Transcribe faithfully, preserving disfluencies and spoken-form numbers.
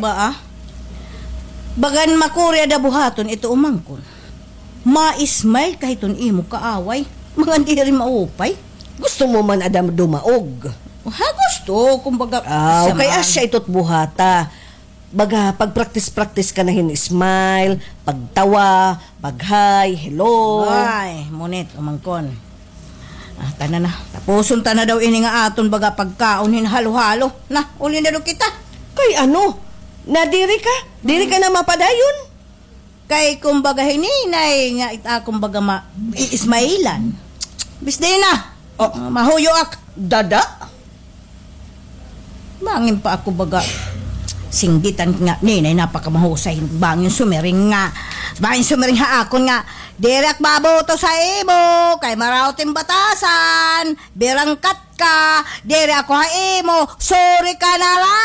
Ba, ah? Bagan makuri ada buhaton ito umangkon. Ma-smile ka hiton imo kaaway. Mga diri maupay. Gusto mo man ada dumaog? Ha, gusto. Kumbaga, Aw, kay asya ito't buhata. Baga, pag-practice-practice ka na hin smile, pagtawa, pag-hi, hello. Ay, munit, umangkon. Ah, tana na. Tapuson ta na daw ini nga aton baga pagkaon hin halo-halo. Na, uli na daw kita. Kay ano? Nadiri ka? Diri ka na mapadayon? Kay kumbaga hininay nga it akon baga ma-, iismailan. Bisdi na. Oh. Ah, mahuyo ak. Dada? Bangin pa ako baga singgitan nga, ninay, napakamahusay. Bangin sumiring nga. Bangin sumiring ha akon nga, diri ak mabuto sa imo, kay maraot in batasan, birangkat ka, diri ako ha imo, sorry ka na lang.